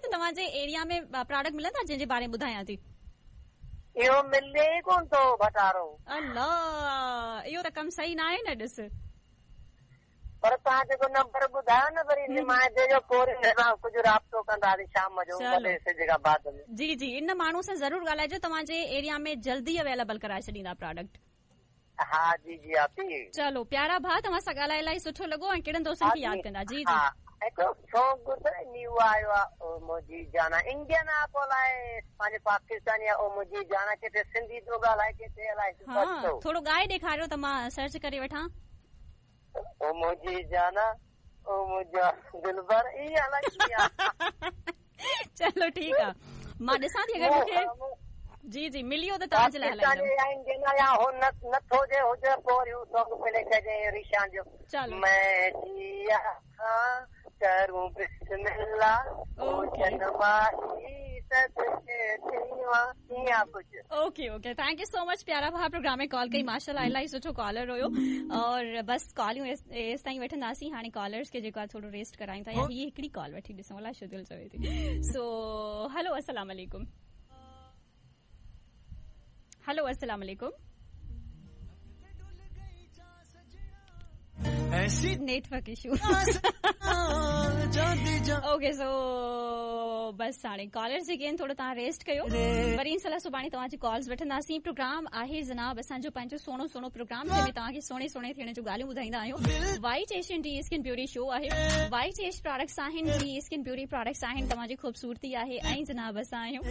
ته توهان جي ايريا ۾ پراڊڪٽ ملندا جنهن جي باري ۾ ٻڌايان ٿي. اهو ملي ئي ڪونه ٿو ڀٽارو. الله اهو ته ڪم صحيح ناهي نه ڏس. پر توهان جيڪو نمبر ٻڌايو نه وري نمائندي جو پوء وري هن سان ڪجهه رابطو ڪنداسين شام جو وڏي سج کان بعد ۾. جي جي ان ماڻهو سان ضرور ڳالهائجو توهان جي ايريا ۾ جلدي اويليبل ڪرائي ڇڏيندا پراڊڪٽ. ها جي جي آپي. چلو پيارا ڀاء توهان سان ڳالهائي الاهي سٺو لڳو ۽ ڪهڙن دوستن کي ياد ڪندا جي جي. ها هڪڙو سونگ ته نيو آيو آ او منهنجي جانا انڊين آ پوء الائي پنهنجي پاڪستاني آ او منهنجي جانا ڪٿي سنڌي ٿو ڳالهائي ڪٿي الائي ها ٿورو ڳائي ڏيکاريو ته مان سرچ ڪري وٺان. او منهنجي جانا او منهنجا دلبر ائين الائي ڪيئن آ. چلو ٺيڪ آ مان ڏسان ٿي اگر مونکي جي جي ملي ويو ته توهان جي لاء هلائيندم. پاڪستاني يا انڊين آ يا هو نه نٿو جي هجي پوء وري هو سونگ پلي ڪجي ريشان جو چلو مين جيا هان ڪرون بسم الله اوڪي ماهي صدقي ٿيوان ائين آ ڪجهه. Okay okay thank you so much پيارا ڀاء پروگرام ۾ ڪال ڪئي ماشاءالله الاهي سٺو ڪالر هيو اور بس ڪاليون ايستائين وٺنداسين هاڻي ڪالرز کي جيڪو آهي ٿورو ريسٽ ڪرايون ٿا يا هي هڪڙي ڪال وٺي ڏسون الائي ڇو دل چوي ٿي سو هلو السلام عليڪم هلو السلام عليڪم network issue okay so بس هاڻي ڪالرز جيڪي آهن ٿورو توهان ريسٽ ڪيو وري انشاء الله سڀاڻي توهان جي ڪالز وٺنداسين پروگرام آهي جناب اسان جو پنهنجو سهڻو سهڻو پروگرام جنهن ۾ توهان کي سهڻي سهڻي ٿيڻ جون ڳالهيون ٻڌائيندا آهيون وائٽ ايش ڊي اسڪن بيوٽي شو آهي وائٽ ايش پراڊڪٽس آهن ڊي اسڪن بيوٽي پراڊڪٽس آهن توهان جي خوبصورتي آهي ۽ جناب اسان آهيون.